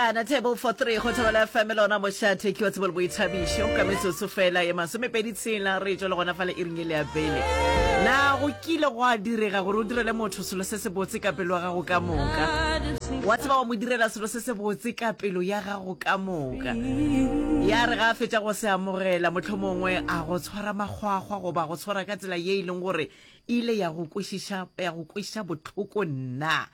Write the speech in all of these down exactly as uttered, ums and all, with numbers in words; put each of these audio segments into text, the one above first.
Kapejana, Table for Three, go Thobela FM lona mošate ke wa tsebo le boithabišo ka metsotso fela ye masomepedi tshela re tšwa le gona fale iring e le ya pele. Na go kile gwa direga gore o direle motho selo se sebotse ka pelo ya gago ka moka? Wa tseba wa mo direla selo se sebotse ka pelo ya gago ka moka. Ya re ga a fetša go se amogela, mohlomongwe a go tshwara makgwakgwa goba go tshwara ka tsela ye e leng gore e ile ya go kwešiša ya go kweša bohloko nna.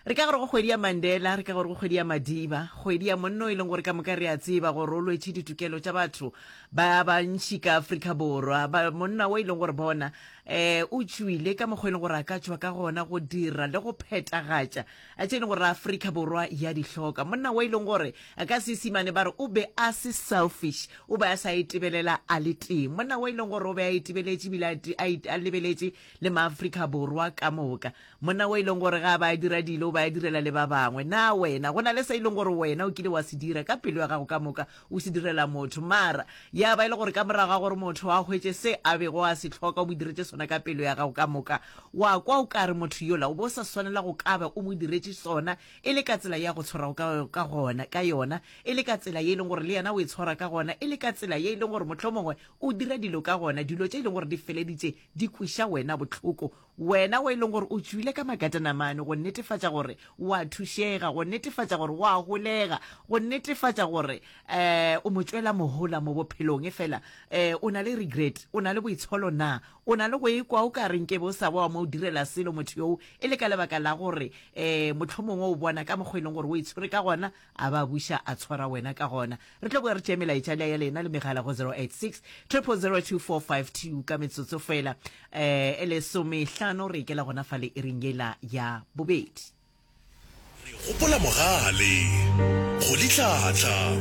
Re ka gore go kgwedi ya Mandela, re ka gore go kgwedi ya Madiba, kgwedi ya monno e leng gore ka moka re a tseba gore o lwetše ditokelo tša batho ba bantši ka Afrika Borwa. Ba, monna o e leng gore bona eh, o tšwile ka mokgwa e leng gore a ka tšwa ka gona go dira le go phetagatša tše e leng gore Afrika Borwa ya di hloka. Monna o e leng gore ka Seisimane ba re o be a se selfish, o be a sa itebelela a le tee. Monna o e leng gore o be a itebeletše ebile a, a, a lebeletše le Maafrika Borwa ka moka. Monna o e leng gore ga a ba a dira dilo, o ba a direla le ba bangwe. Na wena, go na le se e leng gore wena o kile wa se dira ka pelo ya gago ka moka, o se direla motho, mara ya ba e le gore ka morago ga gore motho a hwetše se a bego a se hloka, o mo diretše sona ka pelo ya gago ka moka, wa kwa o ka re motho yola o be o sa swanela go ka ba o mo diretše sona, e le ka tsela ye a go tshwarago ka, ka gona, ka yona, e le ka tsela ye e leng gore le yena o e tshwara ka gona, e le ka tsela ye e leng gore mohlomongwe o dira dilo ka gona, dilo tše e leng gore di feleditše di kweša wena bohloko. Wena o e leng gore o tšwile ka makatanamane go netefatša gore o a thušega, go netefatša gore o a holega, go netefatša gore um o mo tšwela mohola mo bophelong, efela um o na le regret, o na le boitsholo na? O na le go ikwa o ka re nkebe o sa ba wa mo direla selo motho yoo e le ka lebaka la gore um mohlomongwe o bona ka mokgwa e leng gore o itshwere ka gona, a ba buša a tshwara wena ka gona. Re tlo boya re tšee melaetša ya lena le megala go zero eight six triple zero two four five two ka metsotso fela eh e lesomehlano re ikela gona fale iring yela ya bobedi. Re gopola Mogale, Rolihlahla,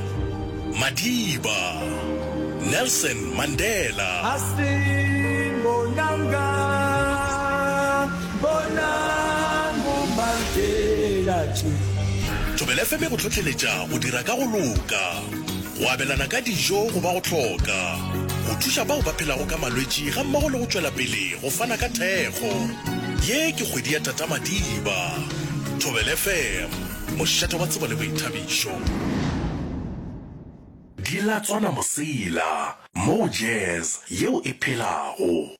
Madiba, Nelson Mandela. Asimbonanga, bonang boMandela tše. Thobela F M e go hlohleletša go dira ka go loka, go abelana ka dijo go ba go hloka, go thuša bao ba phelago ka malwetši gammogo le go tšwela pele go fana ka thekgo. Ye ke kgwedi ya Tata Madiba. Thobela F M, mošate wa tsebo le boithabišo. Di latswana mosela, moo jazz yeo e phelago.